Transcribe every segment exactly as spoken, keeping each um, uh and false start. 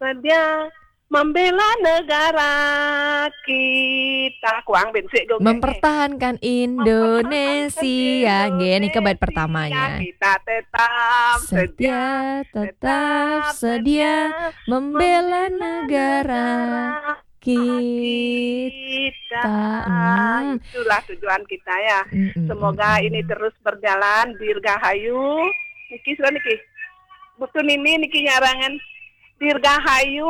Sedia membela negara kita. Kuang bensik go. Mempertahankan Indonesia. Nggih, nika bait pertamanya. Kita tetap Setia, tetap sedia membela negara kita. Hmm. Itulah tujuan kita ya. Mm-mm. Semoga ini terus berjalan. Dirgahayu. Niki sudah niki. Butuh Nini niki nyarangan. Dirgahayu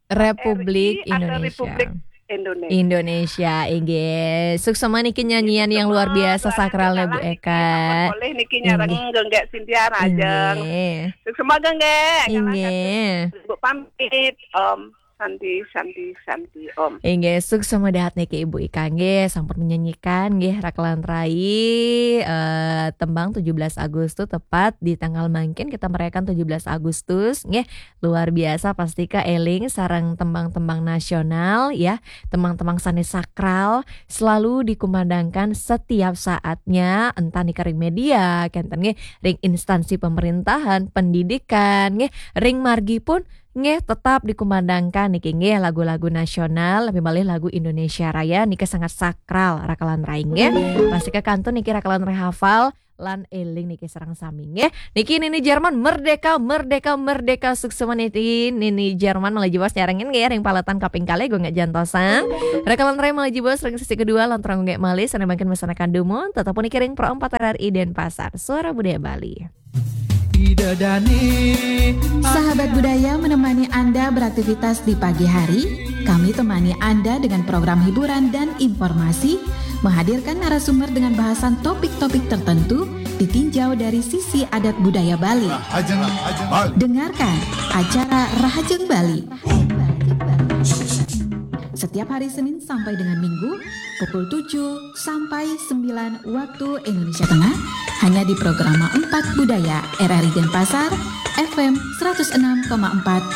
Republik R I atau Indonesia. Republik Indonesia. Indonesia, inggih. Suksma niki nyanyian yang luar biasa sakralnya Bu Eka. Boleh niki nyarang genggek Cynthia Rajeng. Inggih. Suksma genggek. Inggih. Bu pamit. Om Santi, Santi, Santi, Om. Inggih, suksma dahat niki Ibu Ika nggih, sampun menyanyikan nggih Rakelan Rai, eh, tembang tujuh belas Agustus, tepat di tanggal mangkin kita merayakan tujuh belas Agustus nggih. Luar biasa, pasti ka eling sareng tembang-tembang nasional ya, tembang-tembang sane sakral selalu dikumandangkan setiap saatnya, entah nika ring media, kenten nggih, ring instansi pemerintahan, pendidikan nggih, ring margi pun nggih tetap dikumandangkan niki nggih lagu-lagu nasional, lebih malih lagu Indonesia Raya niki sangat sakral Rakelan Rai nggih. Pasti ka kantun niki Rakelan Rai hafal lan eling niki sareng sami nggih. Niki Nini Jerman, merdeka, merdeka, merdeka, suksma niki Nini Jerman malih jebos nyarengin nggih ring paletan kaping kalih gung jantosan. Rakelan Rai malih jebos ring sesi kedua lan terang nggih malih sane mangkin mesanakan dumun, tetep niki ring Pro empat R R I Denpasar, Suara Budaya Bali. Sahabat budaya menemani Anda beraktivitas di pagi hari. Kami temani Anda dengan program hiburan dan informasi, menghadirkan narasumber dengan bahasan topik-topik tertentu, ditinjau dari sisi adat budaya Bali. Dengarkan acara Rahajeng Bali setiap hari Senin sampai dengan Minggu pukul tujuh sampai sembilan waktu Indonesia Tengah, hanya di Programa empat Budaya R R I Denpasar, F M seratus enam koma empat